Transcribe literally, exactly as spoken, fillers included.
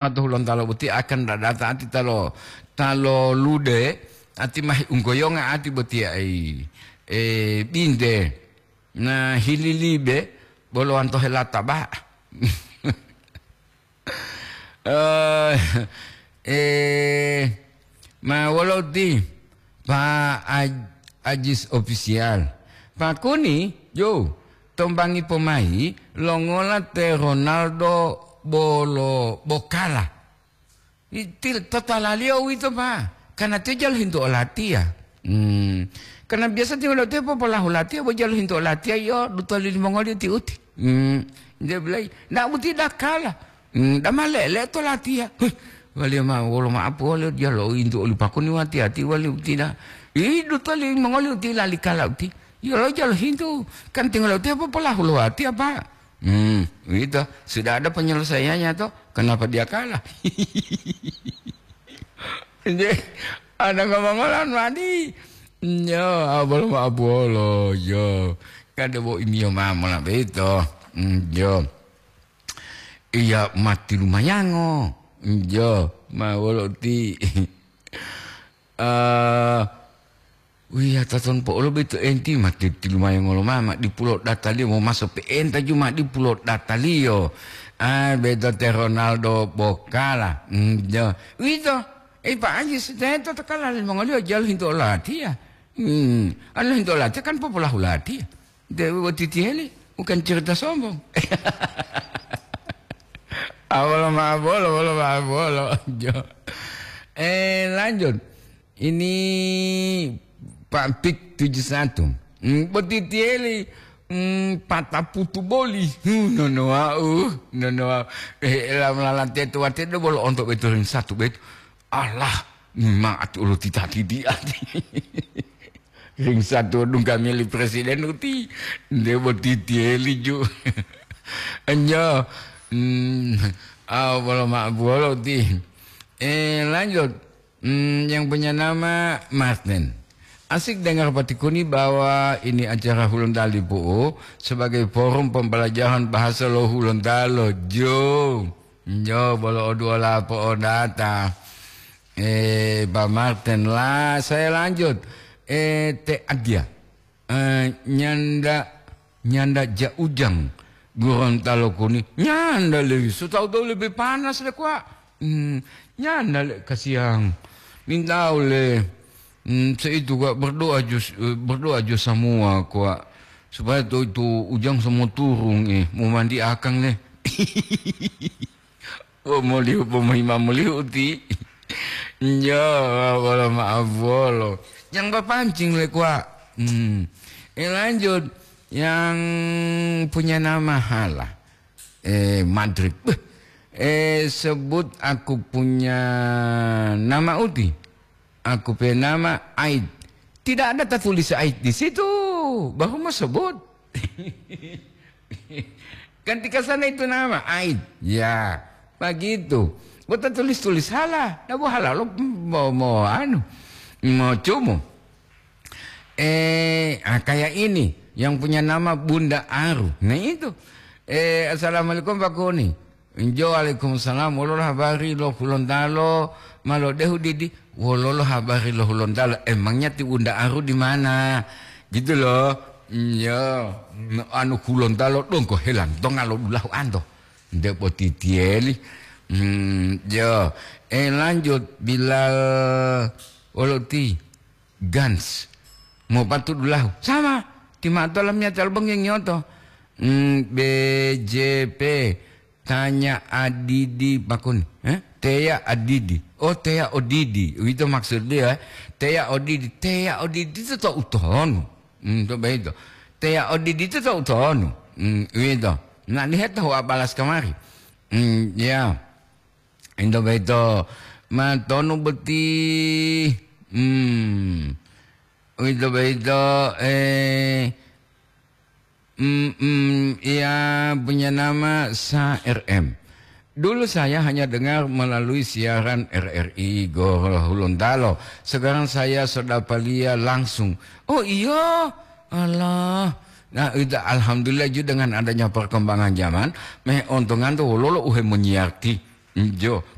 to Hulontalo boti akan dadata ati talo, talo lude, ati mahi unggoyonga ati boti ai, e, binte, na hililibe, bolo wanto helata ba. Eh, eh, ma wolo ti Pa Aj-, Ajis Official. Pakuni, jo, tombangi pomai, longola te Ronaldo bolo bokala. Itil totalaliyo uwito, Pa. Karena tiyo jalo hintu olatiya. Hmm. Karena biasa tiyo lotiya popolahu latiya, bo jalo hintu olatiya, yo, duto lili mongoliyo ti uti. Hmm. Dia bilang, "Ndak buti dakala." Hmm, dama lele to latiya. Huh. Waliyo ma, wolo ma'apu waliyo jalo hintu oli pakuni wati-ati waliyo buti da. Ih, duto lili mongoliyo ti lali kala uti. Yo, lo jalo hintu. Kan tinggal lotiya popolahu lo watiya, Pa. Hmm, uwito, sudah ada penyelesaiannya toh, kenapa dia kalah? Nje, ada ngomong-ngomongan mani. Nyo, abolo ma abolo, yo. Kada bo imiyo mamo la beto. Hmm, yo. Iya mati lumayango. Yo, ma wolo ti. Eh, wiya taton po'olo beto enti ma titilumayo ngolo mama dipulo dataliyo momaso pe'enta juma dipulo dataliyo. Ah, beto te Ronaldo bokala. Hmm, jo. Wito, eh, Pak Haji, teto takala limongoliyo jalo hintu olatiya. Hmm, anu hintu olatiya kan popolahu latiya. Dewe boti tiheli, bukan cerita sombong. Awolo ma bolo, wolo ma bolo. Jo. Eh, lanjut. Ini Pak Pik tujuh satu. Hmm, boti tiheli, hmm, pataputu boli. Hmm, nono wau, nono wau. Eh, lam lalante tuwate do bolo onto beto ring satu beto. Allah, memang ati ulo titati di ati. Ring satu dungga mili presiden uti, nde boti tiheli ju. Enjo, hmm, ah, bolo ma bolo ti. Eh, lanjut. Hmm, yang punya nama Martin. Asik dengar patikuni bahwa ini acara Hulontali Pu'u sebagai forum pembelajaran bahasa lo Hulontalo. Jo, jo, bolo oduola po'odata. Eh, Pak Martin lah, saya lanjut. Eh, Te Adia. Eh, nyanda, nyanda ja ujang Gorontalo kuni. Nyanda le, so tahu-tahu lebih panas le, kwa. Hmm, nyanda le, kasiang. Mintau le. Hmm, seitu, kwa, berdoa jo, eh, berdoa jo semua, kwa. Supaya to itu ujang semua turun, eh, mau mandi akang le. Oh, molihu, pomohima molihu ti. Njo, wolo maaf wolo. Yang bapancing le, kwa. Hmm. Eh, lanjut. Yang punya nama hala. Eh, Madrid. Beh. Eh, sebut aku punya nama uti. Aku punya nama Aid. Tidak ada tertulis Aid di situ. Baru mau sebut. Ganti ke sana itu nama, Aid. Ya, begitu. Buat tulis-tulis salah. Nah, bu halal lo mau, mau anu, mau cumu. Eh, ah, kayak ini yang punya nama Bunda Aru. Nah, itu. Eh, assalamualaikum Pak Kuni. Injo, waalaikumsalam. Wololo habari lo Hulontalo ma lodehu didi? Wololo habari lo Hulontalo? Emangnya ti Bunda Aru di mana? Gitu loh. Iya. Anu Hulontalo dongko helan, donga lo dulahu anto. Nde potitieli. Hmm, yo. Eh, lanjut, Bilal Woloti Gans. Mau patu dulahu. Sama. Timato lamnya talbeng yang nyoto. Hmm, B J P. Tanya adidi pakun. Eh? Teya adidi. Oh, teya odidi. Itu maksud dia. Teya odidi. Teya odidi itu tak utonu. Hmm, coba itu. Teya odidi itu tak utonu. Hmm, itu. Nah, lihat tahu apalas kemari. Hmm, ya. Itu betul. Matonu beti. Hmm. Itu betul. Eh, Mm, mm, ia punya nama Sa R M. Dulu saya hanya dengar melalui siaran R R I Gorontalo. Sekarang saya sudah palia langsung. Oh iya, Allah. Nah, itu alhamdulillah juga dengan adanya perkembangan zaman, meh ontongan tu wololo uhe menyiarti. Mm, jo,